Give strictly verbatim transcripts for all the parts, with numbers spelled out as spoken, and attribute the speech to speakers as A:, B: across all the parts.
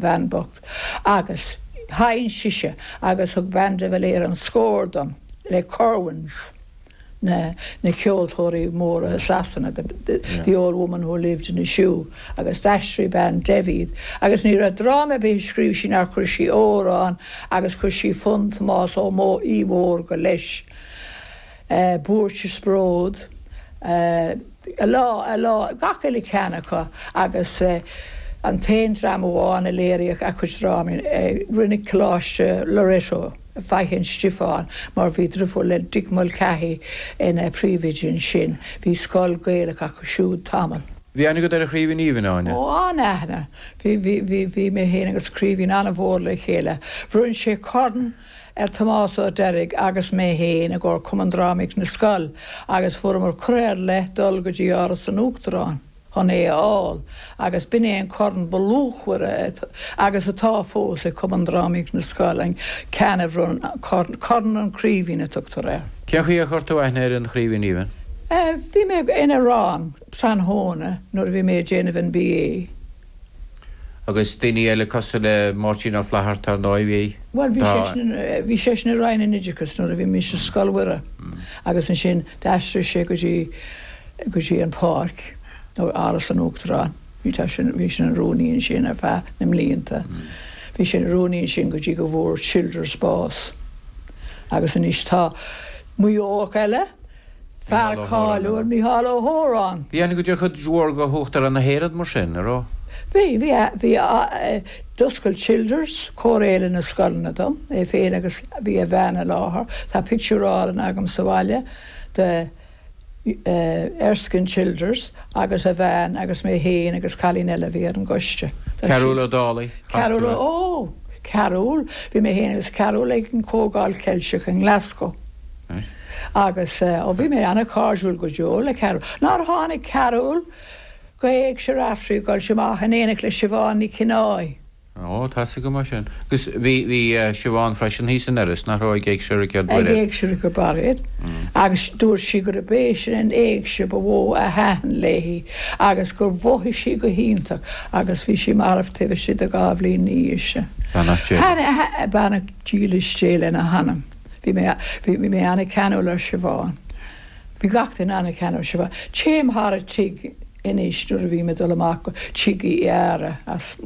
A: bhean bocht agus sheinn sise agus thug bean de Valera an scór dom le Curwens na na ceoltóirí móra Sasana the, the, yeah. the old woman who lived in a shoe agus d'aistrigh bean David agus ní raibh dráma ar bith scríobh sí nár chuir sí amhrán agus chuir sí fonn Tomás Ó Mó í Mhór go leis. Uh, Buairt is Bród, uh, a lá a lá gach eile ceann acu agus uh, an t-aon dráma amháin a léiríodh a cuid drámaí uh, rinne Coláiste Loreto Faiche Stiofáin mar bhí driofúr le Dick Mulcahy ina príomhoide ansin, bhí scoil Gaelach acu siúd tamall.
B: Bhí aithne agat ar an Chraoibhín Aoibhinn Áine?
A: Ó an-aithne. Bhí bhí bhí bhí mé féin agus Craoibhín an-mhór le chéile. Bhronn sé corn ar Tomás Ó Deirg agus mé féin i gcomhair Cumann Drámaíocht na Scol agus fuaireamar cuireadh ar leith dul go dtí Áras an Uachtaráin chun é a fháil agus b'in é an corn ba luachmhaire agus atá fós ag Cumann Drámaíocht na Scol an ceann a bhronn Corn an Chraoibhín a tugtar air.
B: Cén chaoi a chuir tú aithne ar an Chraoibhín Aoibhinn?
A: Bhí mé ina rang tráthnóna nuair a bhí mé ag déanamh an BA.
B: Agus daoine eile cosúil le Máirtín Ó Flatharta ar ndóigh bhí?
A: Bhuel bhí seisean bhí seisean i Roinn an Oideachais nuair a bhí mise i Scoil Mhuire agus ansin d'aistrigh sé go dtí go dtí an Pháirc nó Áras an Uachtaráin. Bhí tá sin bhí sin an rúnaí ansin ar feadh na mblianta. Bhí sin rúnaí ansin go dtí go bhfuair Childers bás. Agus anois tá Maigh Eoach eile, fear cáiliúil Mícheál Ó hÓráin.
B: Bhí aithne agat ar chuid mhór de Uachtarán na hÉireann mar sin, an raibh?
A: Bhí, bhí, bhí d'oscail Childers Comhar na Scoileanna dom, é féin agus bhí a bhean i láthair. Tá pictiúr álainn agam sa bhaile de Erskine Childers agus a bhean agus mé féin agus cailín eile a bhí ar an gcoiste.
B: Cearúl Ó Dálaigh.
A: Cearúl ó, Cearúl, bhí mé féin agus Cearúl ag an Comhdháil Ceilteach i nGlasgow. Agus ó bhí mé an-chairdiúil go deo le Cearúl. Nár tháinig Cearúl go Éigse Raftery go amach in éineacht le Siobhán Ní Chináí.
B: Ó tá go mar sin. Agus bhí bhí Siobhán freisin thíos in Iorras nach raibh ag Éigse Richard
A: Ag Éigse Richard Bairéad agus dúirt sí gurb é sin an éigse ba mhó a thaitin léi agus gur mhothaigh sí go hiontach agus bhí sí marbh taobh istigh de dhá bhliain ina dhiaidh sin. Beannacht dílis Dé lena hanam. Bhí mé bhí mé an-cheanúil ar Siobhán. Bhí gach duine an-cheanúil ar Siobhán. Téim thar a tigh anois nuair a bhí mé dul amach go tigh Uí Eára as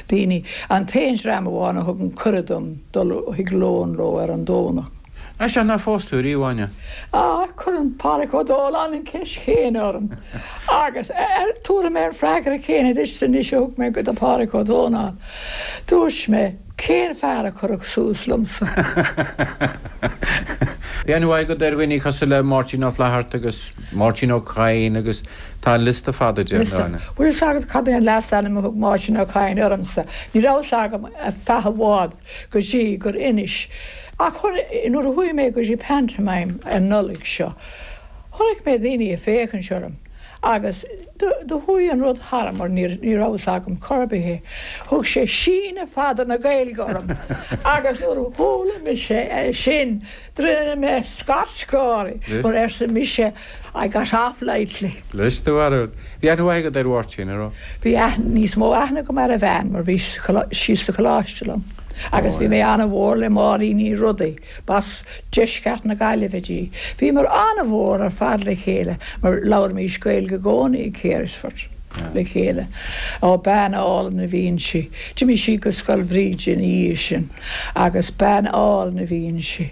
A: daoine an t-aon dream amháin a thugann cuireadh dom dul chuig lón leo ar an Domhnach.
B: Sea nár phós tú riamh Áine?
A: Á cuireann Pádraig Ó Dóláin an cheist chéanna orm agus tabharfaidh mé an freagra céanna duit anois a thug mé go do Phádraig Ó Dónáin. Dúirt mé cén fear a chuirfeadh suas liomsa.
B: Bhí aithne mhaith agat ar dhaoine cosúil le Máirtín Ó Flatharta agus Máirtín Ó Cadhain agus tá an liosta fada de Áine.
A: Bhfuil fhios agat cad é an leasainm a thug Máirtín Ó Cadhain ormsa. Ní raibh fhios agam ar feadh i bhfad go dtí gur inis. Ach nuair a chuaigh mé go dtí pantomime an Nollaig seo, chonaic mé daoine ag féachaint orm agus do chuaigh an rud tharam mar ní raibh fhios agam chor ar bith é. Thug sé síneadh fada na Gaeilge orm agus nuair a chuala mise é sin rinne mé scairt gáire mar arsa mise I got off lightly.
B: Leis do bharúil. Bhí aithne mhaith agat ar Mháirtín, an raibh?
A: Bhí níos mó aithne agam ar a bhean mar bhí sí sa choláiste liom. Agus bhí mé an-mhór le Máirín Ní Rodaigh, b'as deisceart na Gaillimhe di. Bhíomar an-mhór ar fad le chéile mar labhraímis Gaeilge i gcónaí ag Carysfort le chéile. Ó bean álainn a bhí inti. D'imigh sí go Scoil Bhríde ina dhiaidh sin agus bean álainn a bhí inti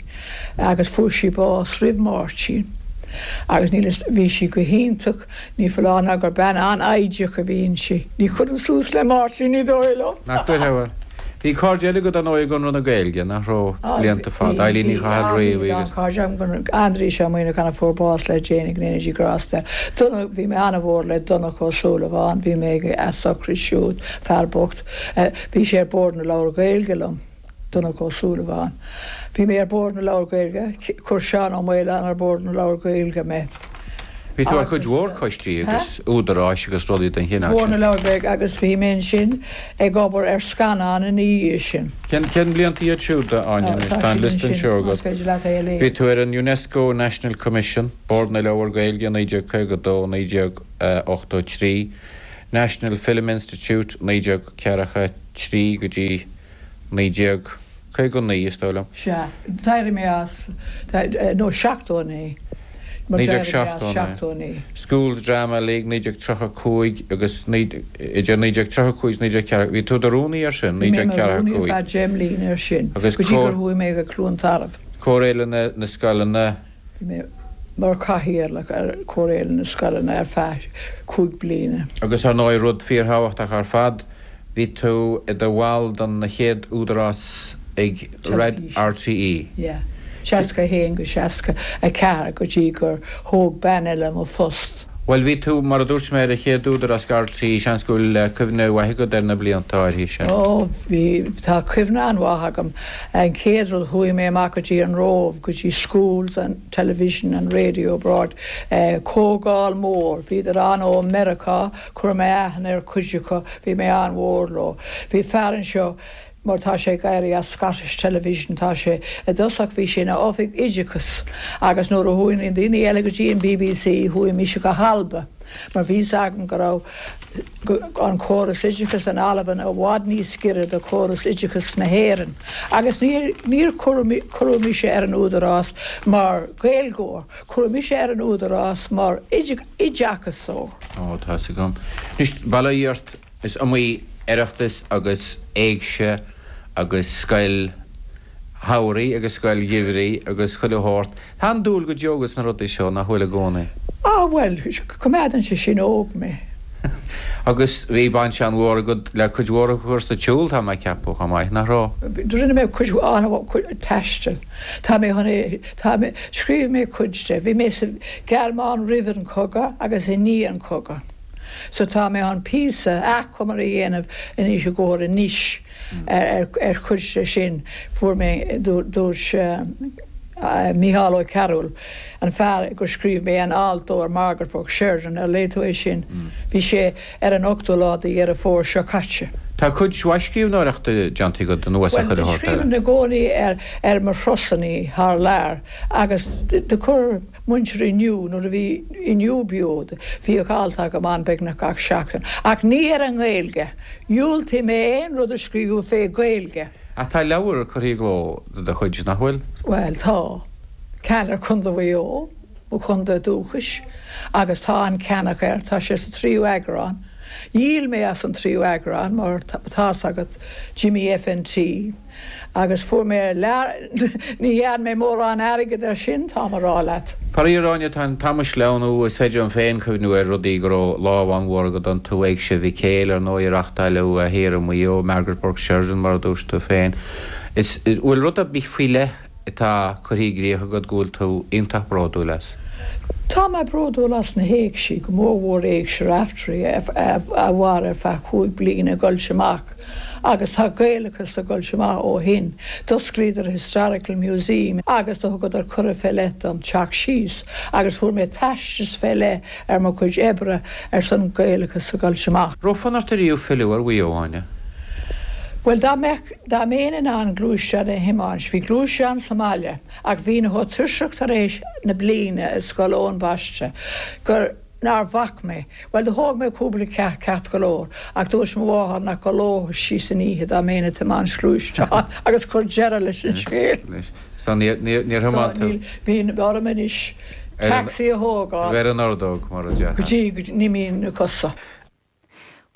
A: agus fuair sí bás roimh Máirtín. Agus ní bhí sí go hiontach ní foláir ná gur bean an-fhoighdeach a bhí inti. Ní chuireann suas le Máirtín ní dóigh liom.
B: Nach dtuigfeá. Bhí cairde eile agat ar ndóigh i gConradh na Gaeilge, nach raibh blianta fada, Eileen Ní Chathail Riabhaigh agus.
A: Cairde agam Aindrias Ó Muimhneacháin a fuair bás le déanaí go ndéana Dia grásta air. Bhí mé an-mhór le Donncha Ó Súilleabháin, bhí mé ag a sochraid siúd, fear bocht. Bhí sé ar Bhord na Leabhar Gaeilge liom. Donncha Ó Súilleabháin. Bhí mé ar Bhord na Leabhar Gaeilge, chuir Seán Ó Maoláin ar Bhord na Leabhar Gaeilge mé.
B: Bhí tú ar chuid mhór coistí agus údaráis agus rudaí den chineál
A: sin. Bord na Leabhar Gaeilge agus bhí mé ansin ag obair ar scannán ina dhiaidh sin.
B: Cén cén blianta iad siúd, a Áine, anois? Tá an liosta anseo agat.
A: Más féidir leat é a léamh.
B: Bhí tú ar an UNESCO National Commission, Bord na Leabhar Gaeilge, naoi déag caoga a dó, naoi déag ochtó trí, National Film Institute, naoi déag ceathracha trí go dtí naoi déag caoga naoi, is dóigh liom.
A: Sea, d'éirigh mé as, nó seachtó naoi.
B: naoi déag seachtó naoi. Schools Drama League naoi déag tríocha cúig agus idir naoi déag tríocha cúig is naoi déag ceathracha, bhí tú i do rúnaí air sin, naoi déag ceathracha
A: cúig. Bhí mé i mo rúnaí ar feadh deich mbliana air sin, go dtí gur chuaigh mé go Cluain Tarbh.
B: Comhar na Scoileanna.
A: Bhí mé mar chathaoirleach ar Chomhairle na Scoileanna ar feadh cúig bliana.
B: Agus ar ndóigh, rud fíorthábhachtach ar fad, bhí tú i do bhall den chéad údarás ag RTÉ.
A: Yeah. seasca a haon go seasca a ceathair go dtí gur thóg bean eile mo phost.
B: Bhuel, bhí tú, mar a dúirt mé, ar an chéad údarás ag RTÉ, seans go bhfuil cuimhne mhaith agat ar na blianta áirithe sin.
A: Ó, bhí, tá cuimhne an-mhaith agam. An chéad rud, chuaigh mé amach go dtí an Róimh, go dtí Schools and Television and Radio Abroad, comhdháil mór, bhíodar ann ó Meiriceá, chuir mé aithne ar chuid acu, bhí mé an-mhór leo. Bhí fear anseo, mar tá sé ag éirí as Scottish Television, tá sé, i dtosach bhí sé ina oifig oideachais agus nuair a chuaigh na daoine eile go dtí an bbc chuaigh mise go hAlba mar bhí fhios agam go raibh an córas oideachais in Albain i bhfad níos giorra do chóras oideachais na hÉireann agus níor níor cuireadh mise ar an údarás mar Ghaeilgeoir, cuireadh mise ar an údarás mar oideachasóir.
B: Ó, tá fhios agam. Anois, bail ó Dhia ort, is iomaí Oireachtas agus Éigse agus scoil shamhraidh agus scoil gheimhridh agus chuile shórt. Tá an-dúil go deo agat sna rudaí seo, nach bhfuil i gcónaí?
A: Ah, bhuel, coimeádann sé sin óg mé.
B: Agus bhí baint an-mhór agat le cuid mhór a chur sa tsiúl, tá mé ag ceapadh, chomh maith, nach raibh?
A: Rinne mé cuid an-mhór taistil. Tá mé chun é, tá mé, scríobh mé cuid de. Bhí mé sa Ghearmáin roimh an chogadh agus i ndiaidh an chogadh. So tá mé chun píosa achomair a dhéanamh anois i gcomhair anois ar chuid de sin. Fuair mé, dúirt Mícheál Ó Cearúil, an fear gur scríobh mé an alt dó ar Margaret Burke Sheridan, ar léigh tú é sin? Bhí sé ar an ochtú lá de Dheireadh Fómhair seo caite.
B: Tá cuid mhaith scríbhneoireachta déanta agat anuas ar
A: Bhuel,
B: chuile shórt eile.
A: scríobhaim i gcónaí ar ar mo thurasanna thar lear agus do chuir muintir Inniu, nuair a bhí Inniu beo, bhíodh alt agam ann beagnach gach seachtain. Ach ní ar an nGaeilge. Dhiúltaigh mé aon rud a scríobh fé Ghaeilge.
B: Ach tá leabhar curtha i gcló de do chuid, nach bhfuil?
A: Bhuel, tá. Ceann ar Chontae Mhaigh Eo, mo chontae dúchais, agus tá an-cheannach air. Tá sé sa tríú eagrán. Dhíol mé as an tríú eagrán mar tá's agat d'imigh FNT agus fuair mé lear, ní dhearn mé mórán airgid ar sin, táim a rá leat.
B: Faraor, Áine, tá an t-am ag sleamhnú, is féidir liom féin cuimhniú ar rudaí go raibh lámh an-mhór agat iontu, Éigse Mhic Éil, ar ndóigh, a reáchtáileadh thiar i Maigh Eo, Margaret Burke Sheridan, mar a dúirt tú féin. Is, bhfuil rud ar bith faoi leith atá curtha i gcrích agat go bhfuil tú iontach bródúil as?
A: Tá mé bródúil as na héigsí, go mórmhór Éigse Raftery a mhair ar feadh chúig bliana ag goilt amach agus tá Gaelachas ag goilt amach ó shin. D'osclaíodar Historical Museum agus do thugadar cuireadh fé leith dom teacht síos agus fuair mé teastas fé leith ar mo chuid oibre ar son Gaelachas ag goilt amach.
B: Raibh fonn ort ariamh filleadh ar Mhaigh Eo, Áine?
A: Bhuel, dá mbeadh, dá mbeinn in ann gluaisteán a thiomáint, bhí gluaisteán sa mbaile ach bhínn chomh tuirseach tar éis na bliana i Scoil Eoin Baiste gur, nár bhac mé. Bhuel, do thóg mé cúpla ceacht ceart go leor ach dúirt mo mháthair nach gcodlódh sí san oíche dá mbeinn ag tiomáint gluaisteáin agus chuir deireadh leis an scéal.
B: So níor, níor, níor
A: So
B: thiomáin tú?
A: níl, bíonn orm anois
B: Ar an,
A: taxi a thógáil.
B: ar an ordóg, mar a
A: go
B: déarfá.
A: dtí go n-imíonn na cosa.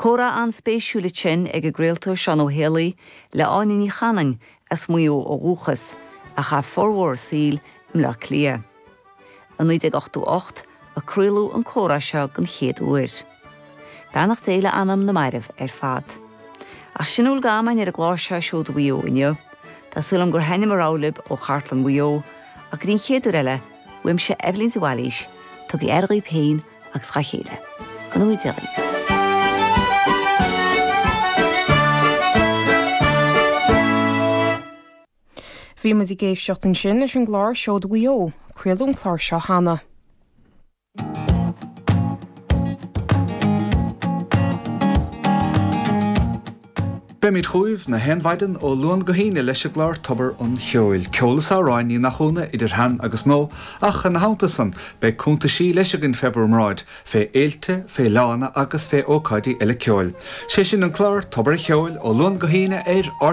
C: Comhrá an-spéisiúil ansin ag an gcraoltóir Seán Ó Héalaí le Áine Ní Chanainn as Maigh Eo ó dhúchas, a chaith formhór a saoil i mBleá Cliath. I naoi déag ochtó ocht a craoladh an comhrá seo den chéad uair. Beannacht Dé le anam na mairbh ar fad. Ach sin a bhfuil d'am againn ar an gclár seo Seoda Mhaigh Eo inniu. Tá súil agam gur thaithin mo rogha libh ó chartlann Mhaigh Eo, ach go dtí an chéad uair eile, uaimse Eibhlín de Bhailís, tugaigí aire dhaoibh féin agus dhá chéile. Go ngnóthaí Dia dhaoibh.
D: Bhí muid ag éisteacht ansin leis an gclár Seoda Mhaigh Eo. Craoladh an clár seo cheana.
E: Beimid chugaibh na haon mhaidin ó Luan go hAoine leis an gclár Tobar an Cheoil. Ceol is amhráin ní nach ionadh idir shean agus nua, ach ina theannta san beidh cuntaisí leis againn fé bhur mbráid, fé fhéilte, fé fhleánna agus fé ócáidí eile ceoil. Sé sin an clár Tobar an Cheoil ó Luan go hAoine ar